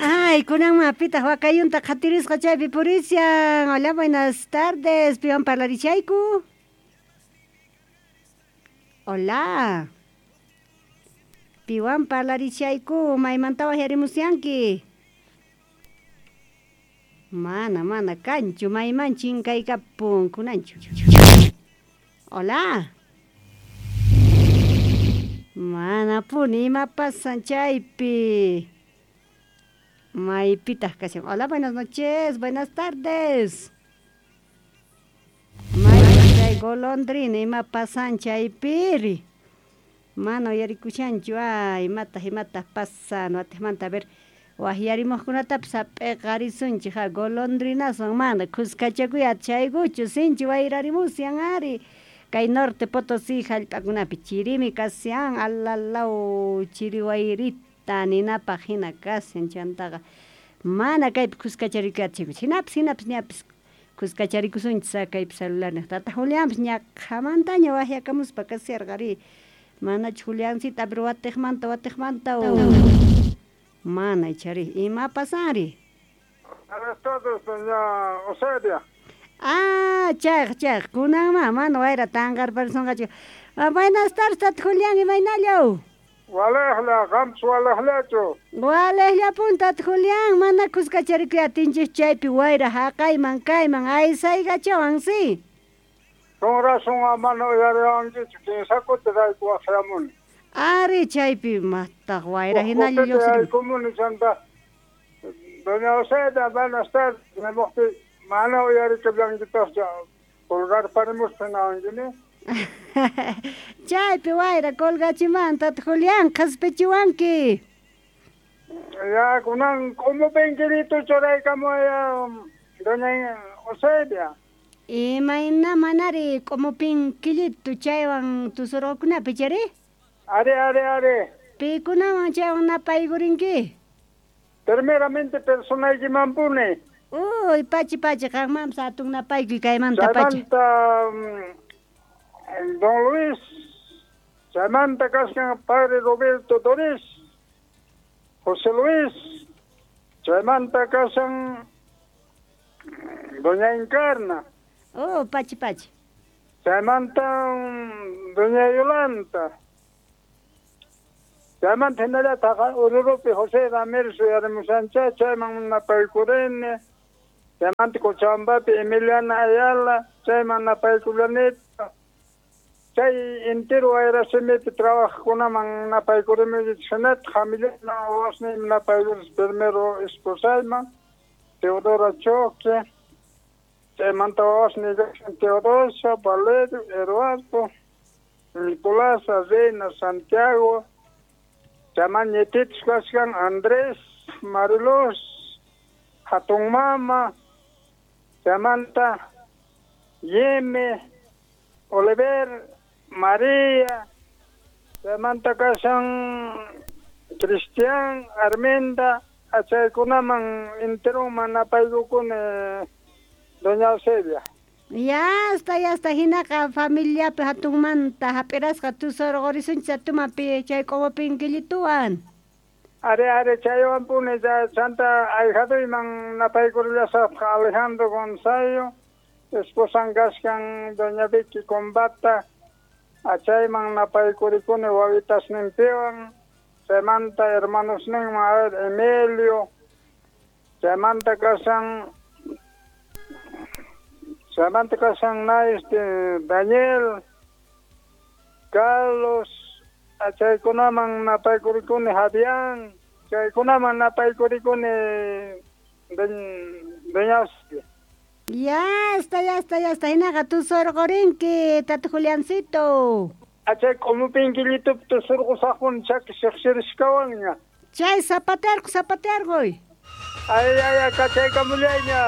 Ay, kunanma pitaq wakayunta qhatirisqa chaypi purishan. Hola, buenas tardes. Piwan parlarichayku. Hola. Piwan parlarichayku, maymanta waqyarimusyanki. Mana, mana kanchu, mayman chinkaykapun kunanchu. Hola. Manapuni ima pasan chaypi. Maypitaq kashan. Hola, buenas noches, buenas tardes. Maypaq chay golondrina ima pasan chaypiri. Mana uyarikushanchu, ay, imataq imataq pasan watiqmanta a ver waqyarimuqkunatapis hap'iqarisunchik ha golondrinaswan mana kuskachakuy atishaykuchu sinchi wayrarimusyan ari kay Norte Potosí hallp'akunapi chirimi kashan alalaw chiri wayrita ninapaq hina kashan chantaqa mana kaypi kuskacharikuy atishaykuchu hinapis hinapis ñapis kuskacharikusunchis kaypi celular tata Julianpis ñaqhamantaña waqyakamuspa kasharqa ari manachu Juliancita pero watiqmanta watiqmanta mana ichari ima pasanri. Buenas tardes, doña Oselia. Ah, chayqa chayqa kunanma mana wayra tanqarparisunqachu. Buenas tardes, tata Julián, imaynallaw. Walejla, qampas walejlachu. Walejllapun tata Julián, mana kuskacharikuy atinchik chaypi wayra haqayman kayman aysaykachawan si. Con razón mana uyariwankichu kinsa kutirayku waqyamuni. Ari chaypi mataq wayra hinalla lluqsirin. Yaykumuni chanta doña Oselia, buenas tardes, nimuqti mana uyarikallankitaqchu colgarparimuspa hinawankini. Chaypi wayra colgachiman tata Julián qhaspichiwanki. Ya kunan k'umupinkiritu churaykamuwaya doña Oselia. Imayna manari k'umupinkillitu chaywan tusurqakunapi chari? Ari, ari, ari. Pikunawan chaywan napaykurinki? Primeramente personaykimanpuni. Uy, pachi pachi qanmanpas hatun napaykuy kaymanta pacha. Chaymanta don Luis, chaymanta kashan padre Roberto Doris, José Luis, chaymanta kashan doña Encarna. Oh, pachi pachi. Chaymanta doña Yolanda. Chaymanta hinallataq Ururupi José Ramírez uyarimushancha chayman napaykurini. Chaymanta Cochabambapi Emiliana Ayala chayman napaykullanita. Chay entero wayrasimipi trabajaqkunaman napaykurini hinataq familiaman wawasniyman napaykuris primero esposayman Teodora Choque. Chaymanta wawasniy kashan Teodosio, Valerio, Eduardo, Nicolás, Reina, Santiago. Chayman ñititus kashkan Andrés, Mariluz, hatun mama, chaymanta Yeme, Oliver, María, chaymanta kashan Cristian, Arminda, achaykunaman enteroman napaykukuni doña Eusebia. Ya está, ya está, hinaqa familiapi hatunmanta hap'irasqa tusurqurisunchis atumapi chay k'umupinkillituwan. Ari, ari, chaywanpuni chanta ahijaduyman napaykurillasaqtaq Alejandro Gonzalo, esposan kashkan doña Vicky Combata, achayman napaykurikuni wawitasninpiwan, chaymanta hermanosninman, a ver, Emilio, chaymanta kashan chaymanta kashan na Daniel, Carlos, chaykunaman napaykurikuni Javián, chaykunaman napaykurikuni doña Eusebia. Ya está, ya está, ya está. Hinaqa tusurqurinki, tata Juliancito. Achay k'umupinkillitupi tusurqusaqpuni chaki siqsirishkawanña. Chay zapatearqu, zapatearquy. Ay, ay, ay, kachaykamullayña.